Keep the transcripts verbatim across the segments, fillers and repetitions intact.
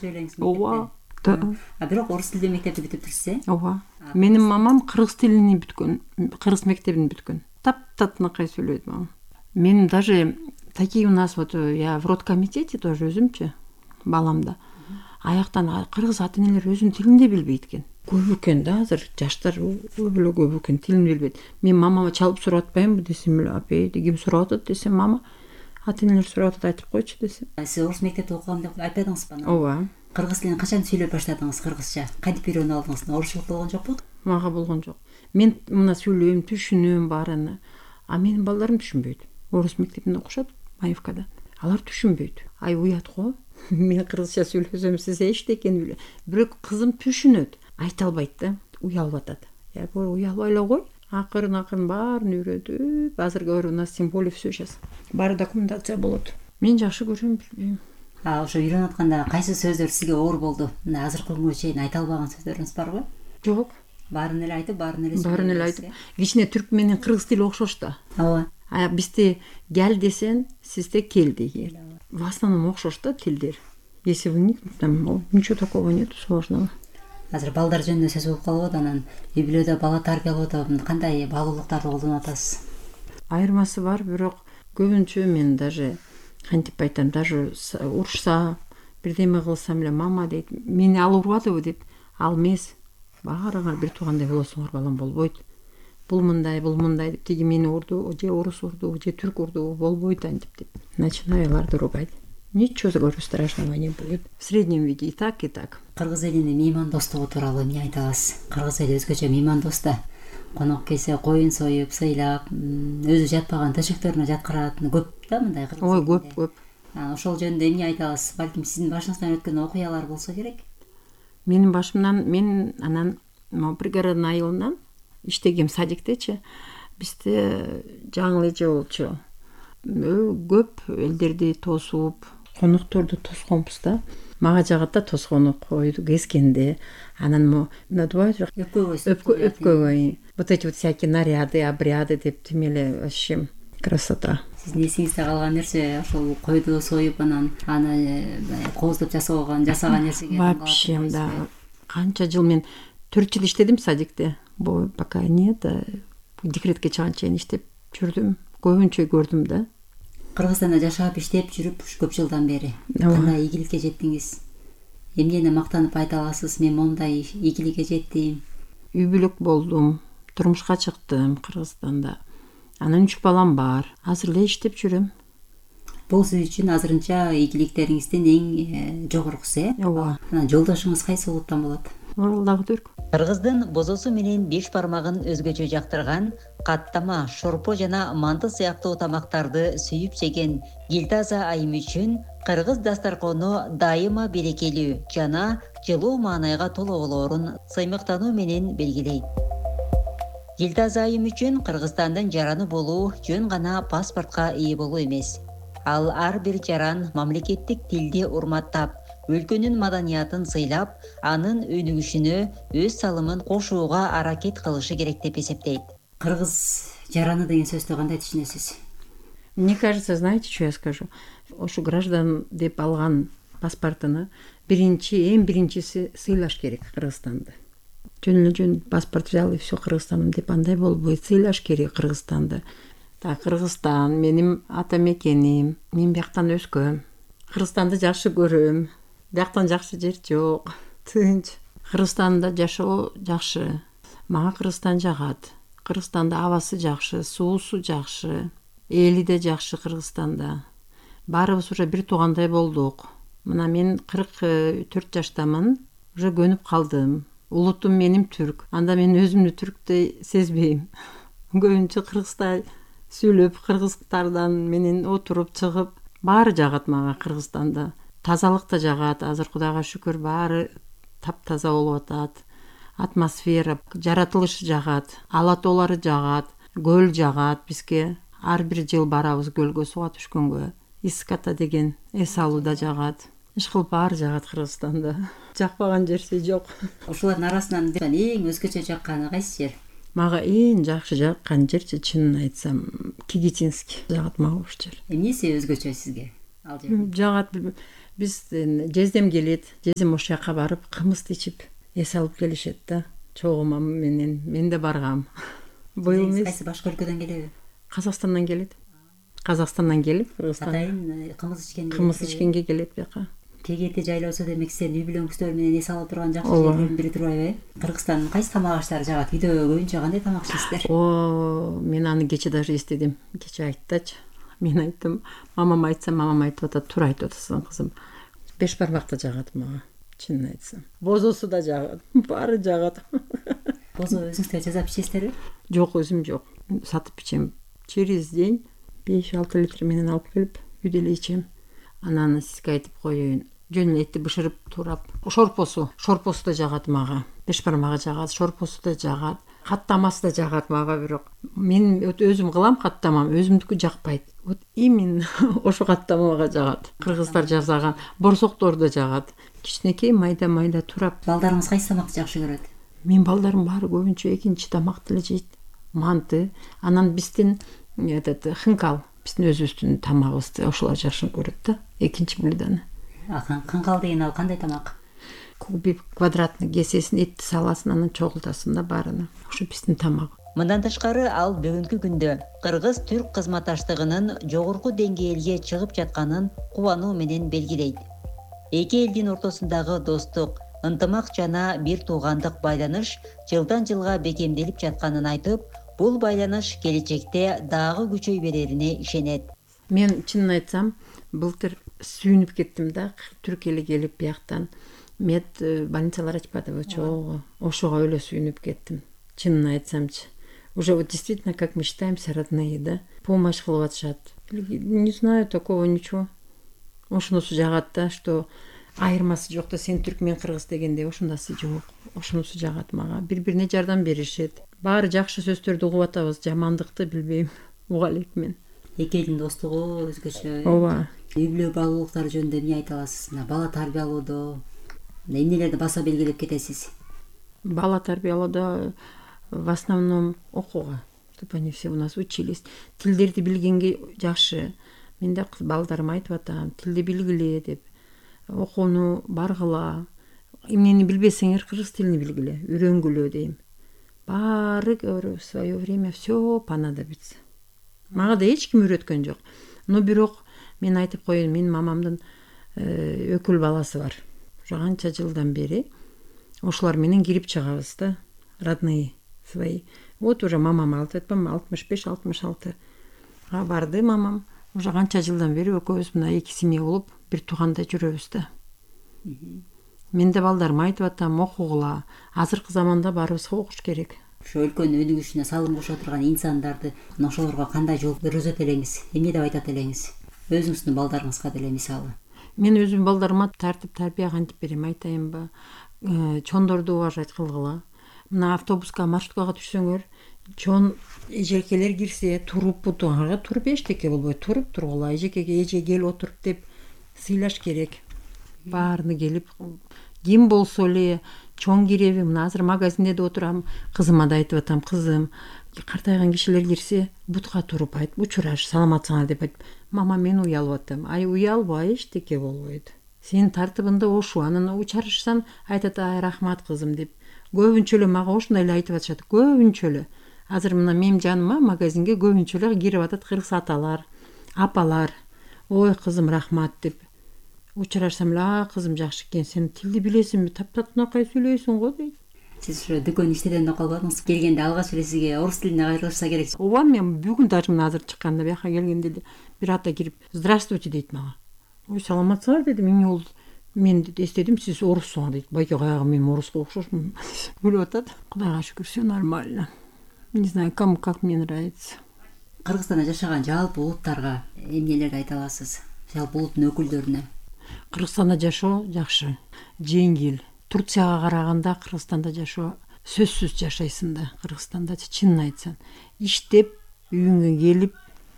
Söyleyiniz ооба. mektepte. А бирок орус тилдүү мектепти бүтүп турсуз э? Ооба. Менин мамам кыргыз тилин бүткөн, кыргыз мектебин бүткөн. Таптатынакай сүйлөйт мамам. Мен даже такие у нас вот я в родкомитете тоже өзүмчү баламда. Аяктан кыргыз ата энелер өзүнүн тилин да билбейт экен. Көп экен да азыр жаштар көп эле көп экен, тилин билбейт. Мен мамама чалып сурап атпаймынбы десем эле, апей ким сурап атат десем, мама ата энелер сурап атат, айтып койчу десем. Сиз орус мектепте окугам деп айтпадыңызбы? Ооба. Кыргыз тилин качан сүйлөп баштадыңыз, кыргызча? Кантип үйрөнүп алдыңыз? Орусчулук болгон жокпу? Мага болгон жок. Мен мына сүйлөйм, түшүнөм баарына. А менин балдарым түшүнбөйт. Орус мектебинде окушат, Маевкада. Алар түшүнбөйт. Ай уят го. Мен кыргызча сүйлөсөм, сиз эчтекени биле. Бирок кызым түшүнөт, айта албайт да, уялып атат. Я говорю, уялбай эле кой. Акырын акырын баарын үйрөтүп, азыр говорю, у нас тем более все сейчас. Баары документация болот. Мен жакшы көрөм, билбейм. А ошо үйрөнүп атканда кайсы сөздөр сизге оор болду? Мына азыркы күнгө чейин айта албаган сөздөрүңүз барбы? Жок. Баарын эле айтып, баарын эле Баарын эле айтып. Кичине түрк менен кыргыз тили окшош да. Ооба. А бизде гел десең, сизде кел деген. В основном окшош да тилдер. Если вникнуть, там ничего такого нет сложного. Азыр балдар жөнүндө сөз болуп калып атат, анан үй бүлөдө бала тарбиялоодо кандай баалуулуктарды колдонуп атасыз? Айырмасы бар, бирок көбүнчө мен даже кантип айтам, даже урушса, бирдеме кылсам эле мама дейт, мени ал урбадыбы дейт. Ал эмес. Баарыңар бир туугандай болосуңар, балам, болбойт. Бул мындай, бул мындай деп, тиги мени урду, же орус урду, же түрк урду, болбойт антип деп. Начинаю аларды ругать. Ничего, говорю, страшного не будет. В среднем виде и так, и так. Кыргыз элинин меймандостугу тууралуу эмне айта аласыз? Кыргыз эли өзгөчө меймандос да. Конок келсе коюн союп, сыйлап, өзү жатпаган төшөктөрүнө жаткырат. Көп да мындай кыргыз. Ой, көп, көп. Ошол жөнүндө эмне айта аласыз? Балким сиздин башыңыздан өткөн окуялар болсо керек? Менин башымдан, мен анан могу пригородный айылынан иштегем садиктечи. Бизде жаңы эже болчу. Көп элдерди тосуп, конокторду тосконбуз да. Мага жагат да тоскону койду кескенде. Анан мо надувают өпкөгө өпкөгө. Вот эти вот всякие наряды, обряды деп тимеле вообще красота. Сиздин эсиңизде калган нерсе ошол койду союп, анан аны кооздоп жасаган, жасаган нерсеге. Вообще, да. Канча жыл мен төрт жыл иштедим садикте. Бу пока нет, декретке чыганга чейин иштеп жүрдүм. Көбүнчө көрдүм да. Кыргызстанда жашап, иштеп жүрүп көп жылдан бери кандай ийгиликке жеттиңиз? Эмнени мактанып айта аласыз? Мен мондай ийгиликке жеттим. Үй бүлөк болдум, турмушка чыктым Кыргызстанда. Анан үч балам бар. Азыр эле иштеп жүрөм. Бул сиз үчүн азырынча ийгиликтериңиздин эң жогоркусу, э? Ооба. Анан жолдошуңуз кайсы улуттан болот? Оралдагы түрк. Кыргыздын бозосу менен беш бармагын өзгөчө жактырган, каттама, шорпо жана манты сыяктуу тамактарды сүйүп жеген Гилтаза айым үчүн кыргыз дастаркону дайыма берекелүү жана жылуу маанайга толо болоорун сыймыктануу менен белгилейт. Гилтаза айым үчүн Кыргызстандын жараны болуу жөн гана паспортко ээ болуу эмес. Ал ар бир жаран мамлекеттик тилди урматтап, өлкөнүн маданиятын сыйлап, анын өнүгүшүнө өз салымын кошууга аракет кылышы керек деп эсептейт. Кыргыз жараны деген сөздү кандай түшүнөсүз? Мне кажется, знаете, что я скажу? Ошо граждан деп алган паспортуну биринчи, эң биринчиси сыйлаш керек Кыргызстанды. Жөн эле жөн паспорт взял и все Кыргызстаным деп андай болбойт. Сыйлаш керек Кыргызстанды. Так, Кыргызстан менин ата мекеним. Мен бияктан өскөм. Кыргызстанды жакшы көрөм. Бияктан жакшы жер жок. Тынч. Кыргызстанда жашоо жакшы. Мага Кыргызстан жагат. Кыргызстанда абасы жакшы, суусу жакшы, эли да жакшы Кыргызстанда. Баарыбыз уже бир туугандай болдук. Мына мен кырк төрт жаштамын, уже көнүп калдым. Улутум менин түрк. Анда мен өзүмдү түрктөй сезбейм. Көбүнчө кыргызча сүйлөп, кыргыздардан менен отуруп чыгып, баары жагат мага Кыргызстанда. Тазалык да жагат, азыр Кудайга шүкүр баары таптаза болуп атат. Атмосфера, жаратылышы жагат, ала тоолары жагат, көл жагат бизге. Ар бир жыл барабыз көлгө сууга түшкөнгө. Иската деген эс алуу да жагат. Ишкыл баары жагат Кыргызстанда. Жакпаган жерси жок. Ошолордун арасынан эң өзгөчө жакканы кайсы жер? Мага эң жакшы жаккан жерчи, чынын айтсам, Кигитинский жагат мага ошол жер. Эмнеси өзгөчө сизге ал жер? Жагат. Биз жездем келет, жездем ошол жака барып кымызды ичип эс алып келишет да. Чогуу мама менен мен да баргам. Быйыл эмес. Кайсы башка өлкөдөн келеби? Казакстандан келет. Казакстандан келип, Кыргызстанга Атайын кымыз ичкенге. кымыз ичкенге келет бияка. Кегерде жайлоосо демек сен үй бүлөңүздөр менен эс алып турган жакшы жерлердин бири турбайбы э? Кыргызстандын кайсы тамак аштары жагат? Үйдө көбүнчө кандай тамак ишейсиздер? О, мен аны кече даже эстедим. Кече айттычы. Мен айттым, мамам айтса, мамам айтып атат, туура айтып атасың кызым. Беш бармакты жагат мага, чынын айтсам. Бозосу да жагат, баары жагат. Бозо өзүңүздөр жасап ичесиздерби? Жок, өзүм жок. Сатып ичем. Через день беш алты литр менен алып келип үйдө эле ичем. Анан сизге айтып коеюн. Жөн этти бышырып турап. Шорпосу, шорпосу да жагат мага. Беш бармагы жагат, шорпосу да жагат. Каттамасы да жагат мага, бирок мен өзүм кылам каттамам, өзүмдүкү жакпайт. Вот именно ошо каттамага жагат. Кыргыздар жасаган борсоктор да жагат. Кичинекей майда-майда турап. Балдарыңыз кайсы тамакты жакшы көрөт? Мен балдарым баары көбүнчө экинчи тамакты эле жейт. Манты, анан биздин этот хынкал, биздин өзүбүздүн тамагыбызды ошолор жакшы көрөт да. Экинчи блюдону. Хынкал деген ал кандай тамак? Кубик квадратный кесесин, этти саласың, анан чогултасың да баарына. Ошо биздин тамак. Мындан тышкары ал бүгүнкү күндө кыргыз-түрк кызматташтыгынын жогорку деңгээлге чыгып жатканын кубануу менен белгилейт. Эки элдин ортосундагы достук, ынтымак жана бир туугандык байланыш жылдан жылга бекемделип жатканын айтып, бул байланыш келечекте дагы күчөй берерине ишенет. Мен чынын айтсам, былтыр сүйүнүп кеттим да, Түркияга келип бияктан мед больницалар ачпадыбы, чогуу. Ошого эле сүйүнүп кеттим. Чынын айтсамчы. Уже вот действительно, как мечтаемся, родные, да? Помощь кылып атышат. Не знаю, такого ничего. Ошонусу жагат да, что айырмасы жок да, сен түрк, мен кыргыз дегенде ошондасы жок. Ошонусу жагат мага. Бири-бирине жардам беришет. Баары жакшы сөздөрдү угуп атабыз, жамандыкты билбейм. Уга элек мен. Эки элдин достугу өзгөчө. Ооба. Үй бүлө баалуулуктары жөнүндө эмне айта аласыз? Мына бала тарбиялоодо эмнелерди баса белгилеп кетесиз? Бала тарбиялоодо в основном окууга, чтобы они все у нас учились. Тилдерди билгенге жакшы. Мен да балдарыма айтып атам, тилди билгиле деп. Окууну баргыла. Эмнени билбесеңер, кыргыз тилин билгиле, үйрөнгүлө дейм. Баары в свое время все понадобится. Мага да эч ким үйрөткөн жок. Но бирок мен айтып коеюн, менин мамамдын өкүл баласы бар. Уже канча жылдан бери ошолор менен кирип чыгабыз да, родные свои. Вот уже мамам айтпам, алтымыш беш алтымыш алтыга барды мамам. Уже канча жылдан бери экөөбүз мына эки семья болуп бир туугандай жүрөбүз да. Мен да балдарыма айтып атам, окугула. Азыркы заманда баарыбызга окуш керек. Ошо өлкөнүн өнүгүшүнө салым кошо турган инсандарды ошолорго кандай жол көрсөтөт элеңиз? Эмне деп айтат элеңиз? Өзүңүздүн балдарыңызга деле мисалы. Мен өзүм балдарыма тартип тарбия кантип берем айтайынбы? Чондорду уважать кылгыла. Мына автобуска, маршруткага түшсөңөр, чон эжекелер кирсе, туруп бутуңарга туруп эчтеке болбойт, туруп тургула. Эжекеге эже кел отуруп деп сыйлаш керек. Баарыны келип, ким болсо эле чоң киреби, мына азыр магазинде да отурам, кызыма да айтып атам, кызым, картайган кишилер кирсе, бутка туруп айт, учураш, саламатсыңар деп айт. Мама, мен уялып атам. Ай, уялба, эчтеке болбойт. Сен тартыбында ошу, анан учарышсаң, айтат, ай, рахмат кызым деп. Көбүнчө эле мага ошондой эле айтып атышат, көбүнчө эле. Азыр мына менин жаныма магазинге көбүнчө эле кирип атат кыргыз аталар, апалар. Ой, кызым, рахмат деп. Учурашсам эле, а, кызым жакшы экен, сен тилди билесиңби, таптатынакай сүйлөйсүң го дейт. Сиз ошо дүкөн иштеден калбадыңыз? Келгенде алгач эле сизге орус тилине кайрылышса керек. Ооба, мен бүгүн даже мына азыр чыкканда бияка келгенде эле бир ата кирип, здравствуйте дейт мага. Ой, саламатсыңар дедим, эмне болду? Мен эстедим, сиз оруссуңар дейт. Байке каягы мен оруско окшошмун. Күлүп атат. Кудайга шүкүр, все нормально. Не знаю, кому как мне нравится. Кыргызстанда жашаган жалпы улуттарга эмнелерди айта аласыз? Жалпы улуттун өкүлдөрүнө. Кыргызстанда жашоо жакшы, жеңил. Турцияга караганда Кыргызстанда жашоо сөзсүз жашайсың да. Кыргызстанда чынын айтсаң, иштеп, үйүңө келип,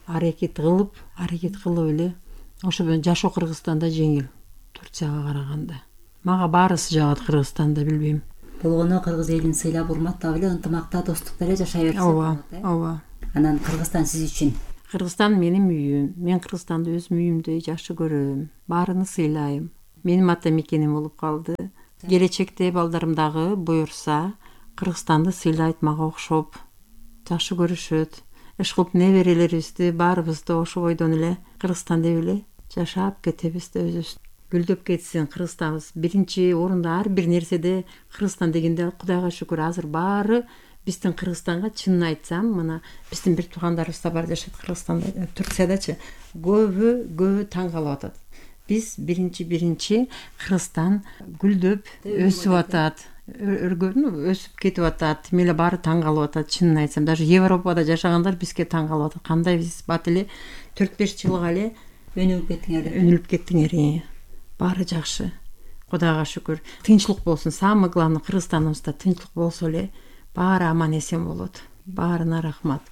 аракет кылып, аракет кылып эле ошо жашоо Кыргызстанда жеңил. Турцияга караганда. Мага баарысы жагат Кыргызстанда, билбейм. Болгону кыргыз элин сыйлап, урматтап эле, ынтымакта, достукта эле жашай берсек. Ооба, ооба. Анан Кыргызстан сиз үчүн Кыргызстан менин үйүм. Мен Кыргызстанды өзүм үйүмдөй жакшы көрөм. Баарыны сыйлайм. Менин ата мекеним болуп калды. Келечекте балдарым дагы буюрса Кыргызстанды сыйлайт мага окшоп. Жакшы көрүшөт. Иш кылып неберелерибизди баарыбызды ошо бойдон эле Кыргызстан деп эле жашап кетебиз да өзүбүз гүлдөп кетсин Кыргызстаныбыз. Биринчи орунда ар бир нерседе Кыргызстан дегенде Кудайга шүкүр азыр баары биздин Кыргызстанга чынын айтсам, мына биздин бир туугандарыбыз да бар жашайт Кыргызстанда, Турциядачы. Көбү көбү таң калып атат. Биз биринчи биринчи Кыргызстан гүлдөп өсүп атат. Өргөнүп өсүп кетип атат. Мейле баары таң калып атат. Чынын айтсам, даже Европада жашагандар бизге таң калып атат. Кандай биз бат эле төрт беш жылга эле өнүгүп кеттиңер. Өнүгүп кеттиңер. Баары жакшы. Кудайга шүкүр. Тынчылык болсун. Самый главный Кыргызстаныбызда тынчылык болсо эле баары аман эсен болот. Баарына рахмат.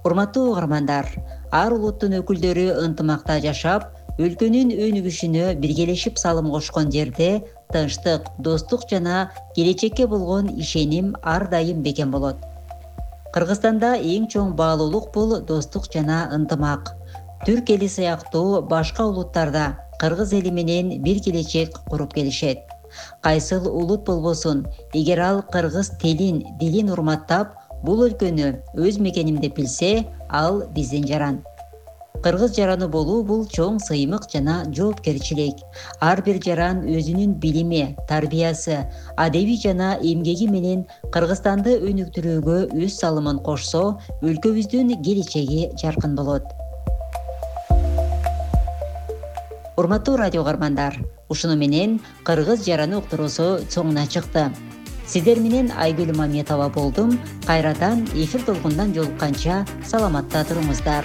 Урматтуу угармандар, ар улуттун өкүлдөрү ынтымакта жашап, өлкөнүн өнүгүшүнө биргелешип салым кошкон жерде тынчтык, достук жана келечекке болгон ишеним ар дайым бекем болот. Кыргызстанда эң чоң баалуулук бул достук жана ынтымак. Түрк эли сыяктуу башка улуттарда кыргыз эли менен бир келечек куруп келишет. Кайсыл улут болбосун, эгер ал кыргыз тилин, дилин урматтап, бул өлкөнү өз мекеним деп билсе, ал биздин жаран. Кыргыз жараны болуу бул чоң сыймык жана жоопкерчилик. Ар бир жаран өзүнүн билими, тарбиясы, адеби жана эмгеги менен Кыргызстанды өнүктүрүүгө өз салымын кошсо, өлкөбүздүн келечеги жаркын болот. Урматтуу радио угармандар, ушуну менен кыргыз жараны уктуруусу соңуна чыкты. Сиздер менен Айгүл Маметова болдум. Кайрадан эфир толкундан жолукканча саламатта туруңуздар.